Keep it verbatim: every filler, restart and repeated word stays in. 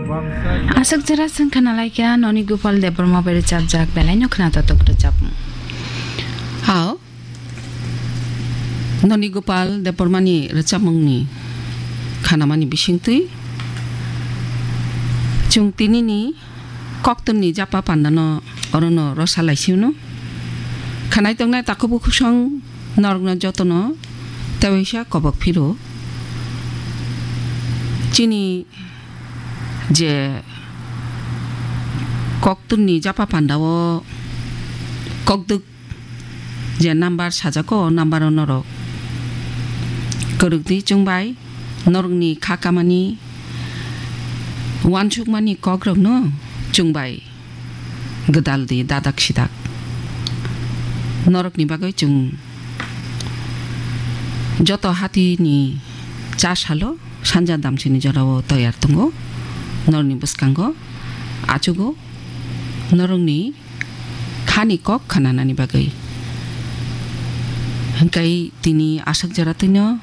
Aswk jora chwng khna lai kha Noni Gopal Debbarma bai rwchapjak belai no khna totok rwchapmung. Hao, Noni Gopal Debbarma ni rwchapmung ni khanamani bisingtwi chwng tini ni koktwmni japa panda no oro no rosa lai sino. Khanai tongnai takhuk bukhuk song norok no joto no tewaisa kobok phiro. Chini je koktwmni japa panda o kokdwk je number sajak o, o number o norok kwrwk di chwng bai norokni kha kamani uansukmani kok rok no chwng bai gwdal di dadak sidak. Norokni bagwi chwng joto hati ni cha salo sanja damsini jora o toyar tongo. Norokni bwskango achugo norokni khani kok khananani bagwi. Hwnkhe tini aswk jora twino